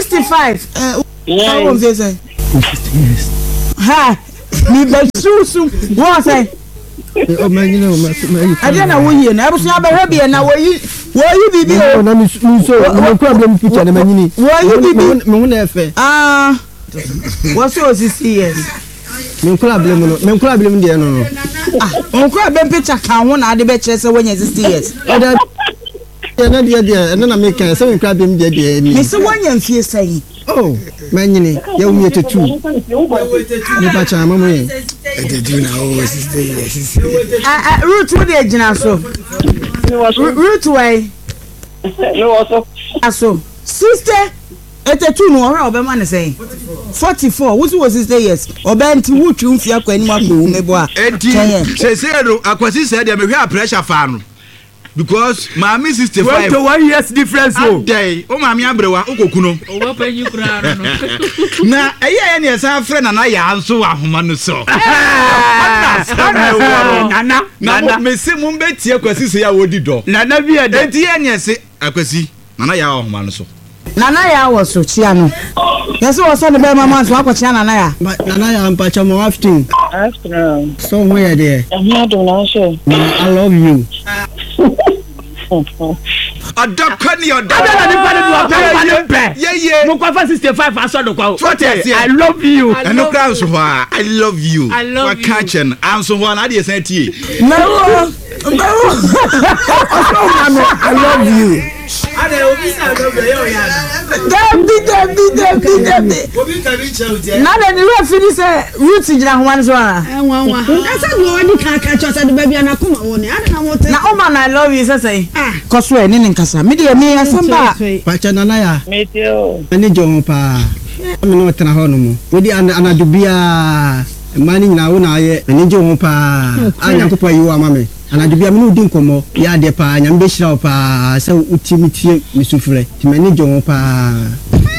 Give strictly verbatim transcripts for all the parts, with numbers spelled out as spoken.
Sixty five. Wɔ mfie sɛ? Sixty years. Ha mi bɛ susu wɔn sɛ. O ma nyina o ma ma yi. Ɛdeɛ na woyie no, abusua bɛhwɛ bi na wɔyi wɔyi bibi o. Na mi nso mi kura bi mi picture na ma nyini. Wɔyi bibi. Mi ho na ɛfɛ. Aa, wɔsɛ o sixty years. Mi nkura abiri mu no, mi nkura abiri mu deɛ no no. Ah, nkura bɛ picture ka ho na ade bɛkyerɛ sɛ wɔnyɛ sixty years. Ɛdɛ ɛnɛ deɛ deɛ ɛnɛ na mi kan sɛ mi nkura abiri mu deɛ deɛ ni. Mesi wɔnyɛ mfie sɛn? Oh, ma nyini yɛ wu yɛ tetu. Nipa kyan ma mo yɛ. Eighty-two na o sixty years. Ɛ ɛ Ruth, wo deɛ gyina so. Ruth wɛ? Mewɔ so. So sixty eighty two no, ɔhwɛ ɔbɛma ne sɛn? Forty four. Wosi wɔ sixty years ɔbɛn nti wotwi nfi akɔ anim akɔ owu mebo a. Eti sese no, Akwasi sɛ deɛ mehwɛ a pressure fa no because maame sixty five. Twenty one years difference o. Adɛn, o maame aberewa o kò kunu. Owó panyin koraa no no. Na ɛyɛ yɛ ne yɛsan frɛ Nana Yaa nso wɔ ahoma no so. Ɔna asɛm ɛwɔ no. Nana. Na mo mesi mo bɛ tie Kwasi sɛ yɛ a wɔdi dɔ. Nana bi yɛ dɛ. Eti yɛ ne yɛse Akwasi, Nana Yaa wɔ ahoma no so. Nana Yaa wɔ so, kyia no. Yɛsɛ wɔsɔ ne bɛrima ma nso akɔkyia Nana Yaa. Nana Yaa, mpakyɛ mo afternoon. Afternoon. So ho yɛ deɛ? Ɛho adom na nso. Na I love you. Ɔdɔ kɔ ni ɔdɔ. Ada na nipa de do ɔpɛ nipa de pɛ. Yeye. Mo kɔ fa sixty five asɔ do kɔ. So what yɛ? I love you. Ɛno kora nso hɔ a, I love you. I love waka you. kyɛ no anso hɔ a na adeɛ san tie. Mɛwo mɛwo. Ɔsɔ ma no I love you. Dabi dabi dabi dabi. Nana ne wura fi ni sɛ Ruth gyina ahoma no so ana? Ɛnwanwa ɛsɛ deɛ ɔdi kan ka kyerɛ sɛ de baabi a n'akoma wɔ ne ade na mo te. Na ɔma no I love you sɛ sɛn? Ah. Kɔ so ɛ ne ne nkasa. Mi deɛ mi asɛm ba. Pakyɛ, Nana Yaa. Metie o. M'ani gye ho paa. Mi ne ɔtena hɔ nom. Wodi anadwo biara, mmaa no nyinaa wo na ayɛ. M'ani gye ho paa. A Nyankopɔn ayi wo ama me. Anadwo biara me ne wo di nkɔmmɔ. Yɛ adeɛ paa. Nyame bɛhyira wo paa sɛ wotie me tie me sufrɛ. Nti m'ani gye ho paa.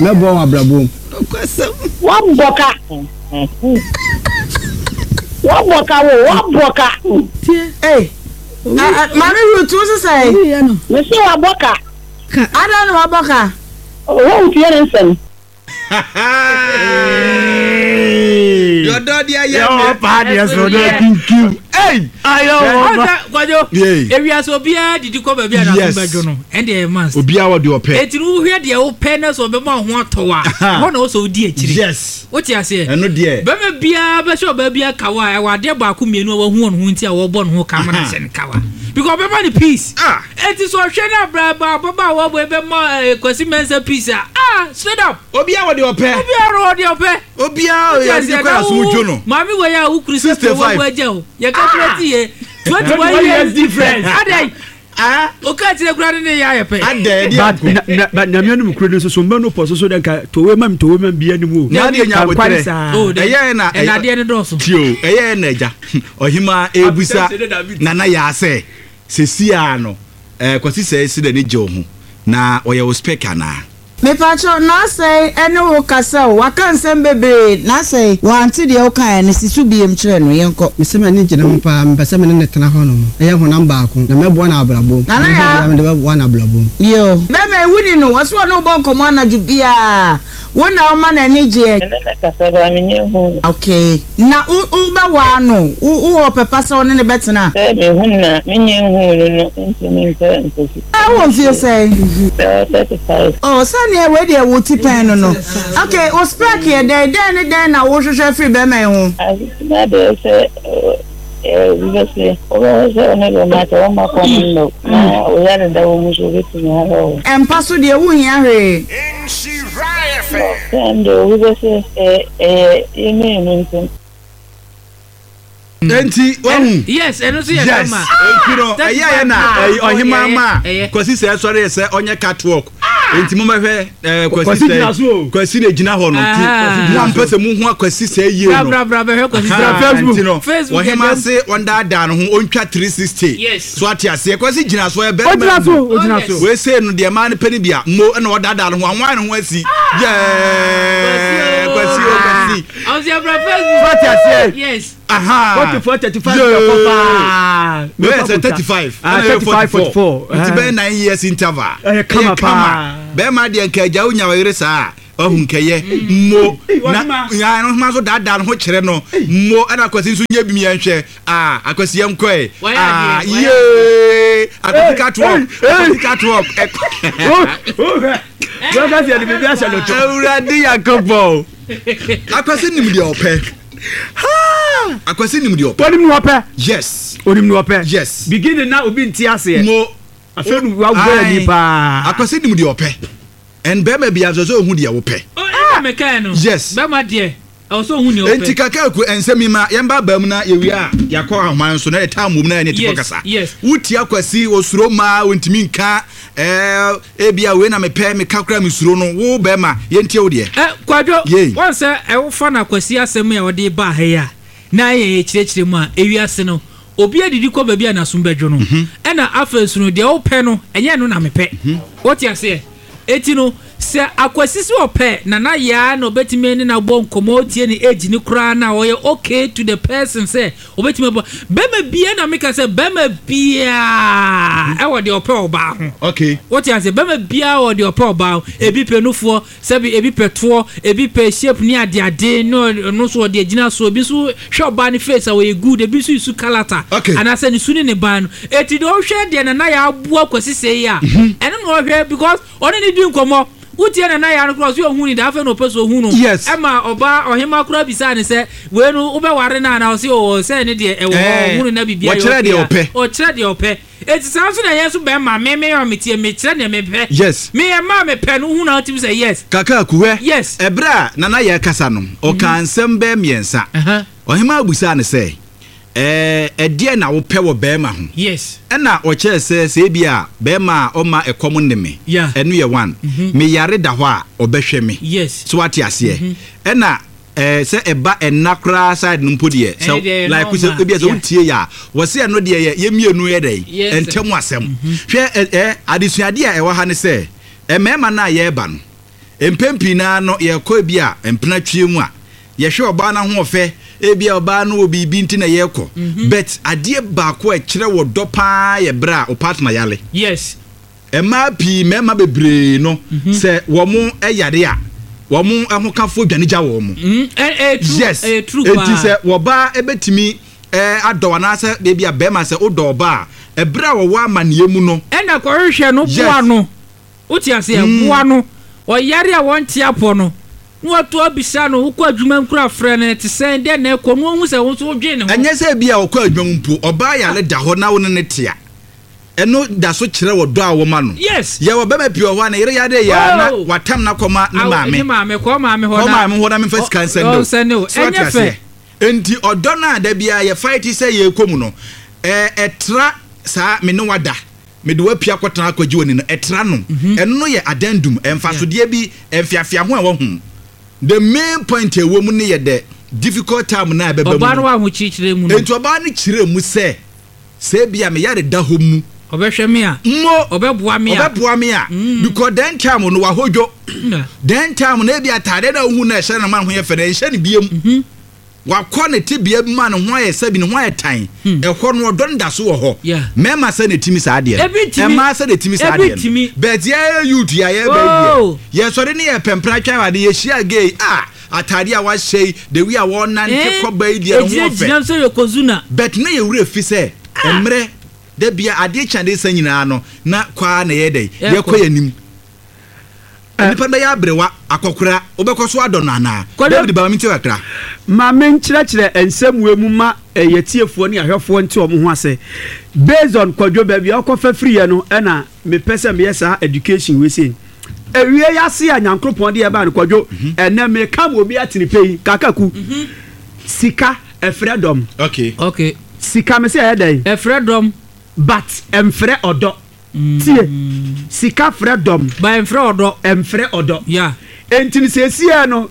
Mɛboa wo abrabɔ mu. Nokwasɛm. Wabɔ ka. Wabɔ ka wo, wabɔ ka. Ee, Maame Ruth, wo sisɛ? Mesi wabɔ ka. Ada na wabɔ ka. Owó tie ne nsɛm. Dɔdɔ deɛ yɛ Yɛ mi. wɔ paa deɛ so de kinkim. Ei. Ayɛ wɔ ba. Ɔsɛ Kwadwo. Yay. Ewiase obiara didi kɔ baabi a n'aso Yes. bɛdwo no, ɛnde ɛyɛ must. Obiara wɔ deɛ ɔpɛ. Eti no, wohwɛ deɛ wopɛ na sɛ ɔbɛma wo ho atɔ wa, ɛhɔ na wosɛ wodi akyiri. Yes. Wote aseɛ? Ɛno deɛ. Bɛrima biara bɛhyɛ ɔbaa biara kawa a, ɛwɔ adeɛ baako mmienu a wahu wɔn ho nti a wɔbɔ ne ho ka ama no ahyɛ ne kawa because ɔbɛma no peace. Ah. Eti sɛ ɔhwɛ no abraba ababaawa bɔ ɛbɛma ɛɛ Kwasi Mensah peace a, ah, straight up. Obiara wɔ deɛ ɔpɛ. Obiara wɔ deɛ ɔpɛ. Obiara Wote yɛ ade aseɛ kɔ na asom wo dwo no. Maame wɔ yɛ a wokuru sɛ sixty-five. wɔ agya o, yɛka kura ti yɛ twenty one years difference. Adai Ah. oka kyerɛ kura ne ne yɛ ayɛ pɛ. Adɛ ɛdi But ako. na na but Nyame anim kuro no nso so mma no pɔ so so dɛ nka towe mam towe mam bi anim o. Na adeɛ nya Ka nkware abotrɛ. saa. Oh, de- Ɛyɛ na ɛna adeɛ no dɔɔso. Tio, ɛyɛ na agya ɔhema ebusa Nana Yaa sɛ sesi a no ɛɛ Kwasi sɛ esi dɛ ne gye wo ho na ɔyɛ wo spec anaa? Mepakyɛw, n'asɛe ɛne wo kasa o, waka nsɛm bebree n'asɛe wante deɛ wokaeɛ no si so biem kyerɛ no, yɛnkɔ. Mesɛ m'ani gye ne ho paa. Mepɛ sɛ me ne ne tena hɔ nom. Ɛyɛ honam baako. Na mɛboa no abrabɔ mu. Nana Yaa. Mɛhwɛ biara mede bɛboa no abrabɔ mu. Yo. Bɛma ewu ni no, wɔso ɔne wo bɔ nkɔmmɔ anadwo biara, wo na woma n'ani gyeɛ? Ɛne ne kasa baa menyɛ hu. Okay. Na wo wobɛwaa no, wo wowɔ pɛpa sɛ wo ne ne bɛtena? Sɛ mehu na menyɛ hu no no ntumi mpɛ nkosi. Ɛ wɔ mfie sɛn? Sɛ thirty five. Oh, sɛneɛ wei deɛ wo ti pɛn no no. Okay, wo spec yɛ dɛn? Dɛn ne dɛn na wohwehwɛ firi bɛrima yi ho? Asetena deɛ, sɛ obi bɛsɛ wobɛhwɛ sɛ wo ne bɛma sɛ woma kɔm nnɔ na woyɛ deda wɔ mu so wobɛtumi ahwɛ wo. Ɛmpa so deɛ, wohia hwee. Sɛ deɛ obi bɛsɛ ɛyɛ yɛmmienu ntam. Enti wahu. Yes, ɛno nso yɛ Yes. kama. Enti no ɛyɛ yɛ na ɛyi ɔhema ma Ɛyɛ. Kwasi sɛ ɛsɔre sɛ ɔnyɛ catwalk. Enti mo bɛhwɛ ɛɛ Kwasi Kwasi gyina sɛ so o. Kwasi na gyina hɔ no nti Ah. mo a mpɛ sɛ mo hu Akwasi sɛ yie Bra no. bra bra bɛhwɛ Kwasi Aha, sɛ. Facebook. nti no Facebook ɔhema yɛ dɛm. se ɔndaadaa ne ho, ɔntwa three sixty. Yes. So ate aseɛ, Kwasi gyina so, ɔyɛ bɛrima. Ogyina so, ogyina Oh, yes. so. Wei sei no deɛ, maa no pɛ no bi a mo ɛna ɔdaadaa ne ho anwan ne ho asi yɛɛ. Kwasi o, Kwasi. Ɔsɛ bra Facebook. So ate aseɛ. Yes. Aha. Forty four, thirty five Yeah. yɛ kɔ paa. Wei yɛ sɛ thirty five. Ah, thirty five, forty four. Nti bɛyɛ nine years interval. Ɛyɛ kama paa. Bɛrima deɛ, nka agya wonya ɔyere saa Ɔhu nkɛyɛ mo na ya no ma so daadaa no ho kyerɛ no mo. Ɛna Akwasi nso nyɛ bi yɛn hwɛ. Ah, Akwasi, yɛn kɔɛ. Wayɛ ah adeɛ, wayɛ. Yee, Akwasi catwalk, Akwasi catwalk. Bɛka sɛ yɛde biribi ahyɛ no to. Awurade Yankopɔn, Akwasi nim deɛ ɔpɛ. Akwasi nim deɛ ɔpɛ. Onim ne ɔpɛ. Yes. Onim ne ɔpɛ. Yes. Beginning na obi nte aseɛ. Mo. Afei no wabɔ ani paa. Akwasi nim deɛ ɔpɛ, ɛn bɛrima bi asɔ sɛ ohun deɛ wopɛ. Ɛna mekae no. Yes. Bɛrima deɛ, ɛwɔ sɛ ohun nea ɔpɛ. Enti Kakaku, ɛnsɛm yi ma yɛn ba baa mu na yɛwie a, yɛakɔ ahoma nso na yɛtaa mmom na yɛne tifo Yes, kasa. yes. Wotia Kwasi, osuro maa ontumi nka ɛɛ ebi a wei na mepɛ, meka kora mesuro no. Wo bɛrima, yɛntie wo deɛ. Ɛ, Kwadwo. Yei. Wɔn sɛ ɛwofa na Kwasi asɛm a ɔde ba ha yi a na yɛ kyerɛkyerɛ mu a, ewiase no obi adidi kɔ baabi a n'asom bɛdwo no. Ɛna afei so no, deɛ wopɛ no ɛnyɛ no na mepɛ. Wote aseɛ? Eti no sɛ Akwasi sɛ ɔpɛ Nana Yaa na ɔbɛtumi ne na bɔ nkɔmɔ, tie ne age ne koraa na ɔyɛ okay to the person sɛ ɔbɛtumi abɔ bɛrima bia, na meka sɛ bɛrima biaa ɛwɔ deɛ ɔpɛ ɔbaa ho. Okay wote ase? Bɛrima biara wɔ deɛ ɔpɛ ɔbaa ho. Ebi pɛ nufoɔ, sɛbi, ebi pɛ toɔ, ebi pɛ shape ne adeade ne ɔno nso ɔde agyina so. Ebi nso hwɛ ɔbaa ne face a ɔyɛ good, ebi nso yisu character. Okay. Anaasɛ ne su ne ne ban no. Eti deɛ ɔhwɛ deɛ Nana yɛ aboa Kwasi sɛ yi a, ɛno na ɔhwɛ because ɔne ne di nkɔmɔ. Wotie Nana yɛ ano koraa, ɔso ohun ni da, afei na ɔpɛ so ohun no. Yes. Ɛma ɔbaa ɔhema koraa bisa ne sɛ wei no wobɛware no ana? Ɔse ɔwɔ sɛ ne deɛ ɛwɔ hɔ. Eh, Ɔhunu na biribi ayɛ. Wɔkyerɛ deɛ okay a, ɔpɛ. Ɔkyerɛ deɛ ɔpɛ. Eti saa nso na yɛn nso bɛrima, me me a metie, mekyerɛ deɛ mepɛ. Yes. Me mmaa mepɛ no, wohu na wotumi sɛ yes. Kakaku, hwɛ. Yes. Ɛberɛ a Nana yɛ kasa no, ɔka nsɛm bɛɛ mmiɛnsa. Uh-huh. Ɔhema abusaa ne sɛ ɛɛ ɛdeɛ na wopɛ wɔ bɛrima ho? Yes. Ɛna ɔkyerɛ sɛ sɛ ebi a bɛrima a ɔma ɛkɔm ne me. Yeah. Ɛno yɛ one. Meyare da hɔ a, ɔbɛhwɛ me. Yes. So wate aseɛ? Ɛna ɛɛ sɛ ɛba ɛna koraa side no mpo deɛ, Ɛno deɛ sɛ yɛ like sɛ normal. ebi a sɛ Yeah. wotie yɛ a, wɔsi ɛno deɛ yɛ yɛ mmienu yɛ dɛ Yes. ɛntɛm asɛm. Hwɛ, ɛ ɛ adesuadeɛ a ɛwɔ ha ne sɛ mmarima no a yɛreba no, mpɛn pii naa no yɛkɔ ebi a mpena twie mu a, yɛhwɛ ɔbaa no ahoɔfɛ, ebi a ɔbaa no wɔ biribi nti na yɛrekɔ, but adeɛ baako a ɛkyerɛ wɔ dɔ paa yɛ berɛ a o partner yale. Yes. Mmaa pii, mmarima bebree no, sɛ wɔn yare a, wɔn ahokafo dwane gya wɔn mo. Mm, ɛ ɛ true. Yes. Ɛyɛ true Eti paa. sɛ wɔbaa ebetumi ɛɛ adɔ anaasɛ ebi a bɛrima sɛ wodɔ ɔbaa a, ɛberɛ a wɔwɔ amaneɛ mu no. Ɛna kɔhwehwɛ no. Yes. Boa no, wote aseɛ? Boa no, ɔyare a wɔnte apɔ no na wato abisa no, wokɔ adwuma nkura, frɛ no, te sɛn dɛ na ɛkɔ no, ohu sɛ wo nso wodwen ne ho. Ɛnyɛ sɛ ebi a ɔkɔ adwuma mu mpo, ɔbaa yare da hɔ na wo ne ne te a, ɛno da so kyerɛ wɔ dɔ a wɔma no. Yes. Yɛwɔ bɛrima pii wɔ hɔ a ne yere yare yɛ a, na Oh. watam na kɔma ne Aw, maame. Ne maame, kɔ maame hɔ. Kɔ Na maame hɔ na memfa sika nsɛn de o. Ɔnsɛn de o. So ate Ɛnyɛ fɛ. aseɛ? Nti ɔdɔ no a da biara yɛ fight sɛ yɛrekɔ mu no, ɛɛ ɛtra saa me ne wada mede wapia akɔtena akɔgye w'ani no, ɛtra no. Ɛno no yɛ addendum, ɛmfasodeɛ bi ɛmfiafia ho a ɛwɔ ho. The main point a ɛwɔ mu no yɛ the difficult time na ɛbɛba mu Ɔbaa no no. wɔ ahokyerɛkyerɛ mu no. Nti ɔbaa no kyerɛ mu sɛ sɛ ebia meyare da hɔ mu, ɔbɛhwɛ me a, mo ɔbɛboa me a. Ɔbɛboa me a, because then time no wahodwo. Na. Then time no, ebi ataade na ohu na ɛhyɛ no ma ne ho yɛ fɛ na ɛnhyɛ no biem. Wakɔ ne tebea bi ma ne ho ayɛ sɛbi, ne ho ayɛ tan. Ɛhɔ no ɔdɔ no da so wɔ hɔ. Yeah. Mmarima sɛ na etimi saa adeɛ no. Ebi ntimi. Mmaa sɛ na etimi saa Ebi adeɛ no. ntimi. But yɛ youth yɛ yɛ Oh. bɛyi deɛ, yɛsɔre ne yɛ pɛmpra twɛn ade, yɛhyia gay a, ataade a wahyɛ yi, the way a wɔnante Eh, kɔba yi deɛ, ne ho ɔfɛ. Egyinagyina sɛ Yokozuna. But ne yɛ wura fi sɛ mmerɛ da bia adeɛ kye adeɛ sa nyinaa no na kwaa na yɛ dɛ Yɛkɔ. yɛkɔ yɛ nim. Nipa bɛyɛ aberewa akɔkora, wobɛkɔ so adɔ no anaa? Kwadwo- David, bama mi ti kakra. Ma menkyerɛkyerɛ nsɛm mu ma ɛyɛ tiefoɔ ne ahwɛfoɔ nte ɔmo ho ase based on Kwadwo baabi a ɔkɔfa firiɛ no. Ɛna mepɛ sɛ meyɛ saa education wei sei ewie yase a Nyankoropɔn de ɛbaa no. Kwadwo, ɛnɛ meka ma obi atene pɛ yi kakaku sika ɛfrɛ dɔm. Okay. Okay. Sika me sɛ ɛyɛ dɛn? Ɛfrɛ dɔm. But ɛmfrɛ ɔdɔ. Tie, sika frɛ dɔm. Ba ɛmfrɛ ɔdɔ. Ɛmfrɛ ɔdɔ. Yeah. Enti no seesie no,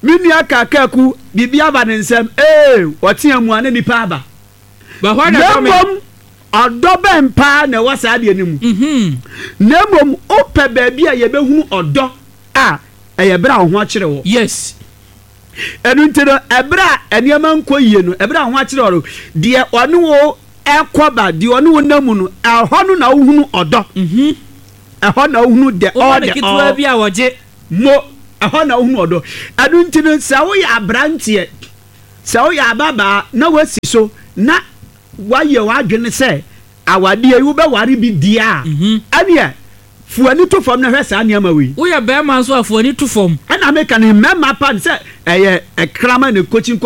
me nua Kakaku, biribi aba ne nsɛm ee, ɔtea mu a na nipa aba. Ba hɔ na na dɔ me. Mmom ɔdɔ bɛn paa na ɛwɔ saa adeɛ no mu? Mhm. Na mmom wopɛ baabi a yɛbɛhunu ɔdɔ a, ɛyɛ berɛ a wo ho akyerɛ wɔ. Yes. Ɛno nti no, ɛberɛ a nneɛma nkɔ yie no, ɛberɛ a wo ho akyerɛ wɔ no, deɛ ɔne wo ɛkɔ ba, deɛ ɔne wo nam mu no, ɛhɔ no na wohunu ɔdɔ. Mhm. Ɛhɔ na wohunu the Woma all ne the ketewa all bi a wɔgye. Mo Ɛhɔ na wohunu ɔdɔ. Ɛno nti no, sɛ woyɛ aberanteɛ, sɛ woyɛ ababaa na woasi so na woayɛ w'adwene sɛ awadeɛ yi wobɛware bi deɛ a, ɛneɛ fo ani to fam na hwɛ saa nneɛma wei. Woyɛ bɛrima nso a, fo ani to fam. Ɛna meka no, mmarima pa no sɛ ɛyɛ ɛkrama ne kokyi.